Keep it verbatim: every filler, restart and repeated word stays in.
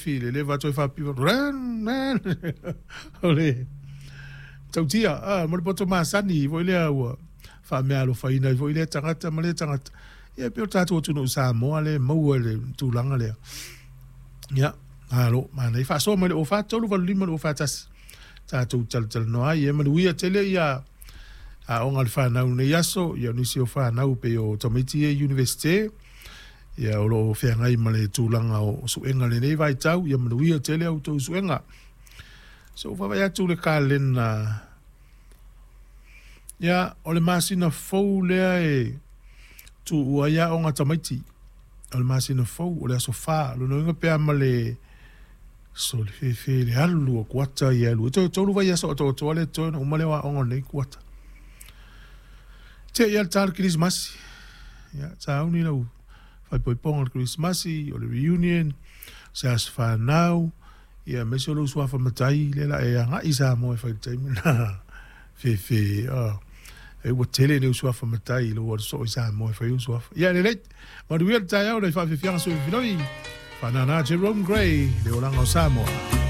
afiafi i le leva toe faapiva o le tautia a mo le poto masani foi lea ua faameaalofaina ai foi lea tagata ma lea tagata. Ia pei o tatou atunuu Samoa lea e maua i le tulaga lea. Ia, malo, manaia. Faasoa mai le zero four three eight five two four one. Tatou talatalanoa ai, e manuia tele ia aoga a le fanau nei aso, ia nisi o fanau pei o tamaiti e universite, ia o loo feagai ma le tulaga o suega lenei vaitau, ia manuia tele au tou suega. So vaavaai atu le kalena, ia o le masina fou lea e tuua ai aoga tamaiti. O le masina fou o le aso fa, lona uiga pe a ma le so le fefe le alu o kuata ia alu. E toe tolu vai aso atoatoa le toe na uma lea o aoga nei kuata. Te ia le tala Krismasi. Ia, sauni lau faaipoipoga o le Krismasi, o le reunion, se aso fanau, ia aemaise o lou suafa matai, lea la e agai Samoa e fai le taimi na. Fefe, oh. E ua tele le suafa matai i lou alu soo i Samoa e fai ou suafa. Ia lelei, manuia le taeao le faafefiaga sui filoi. Whanana Jerome Gray, le olaga o Samoa.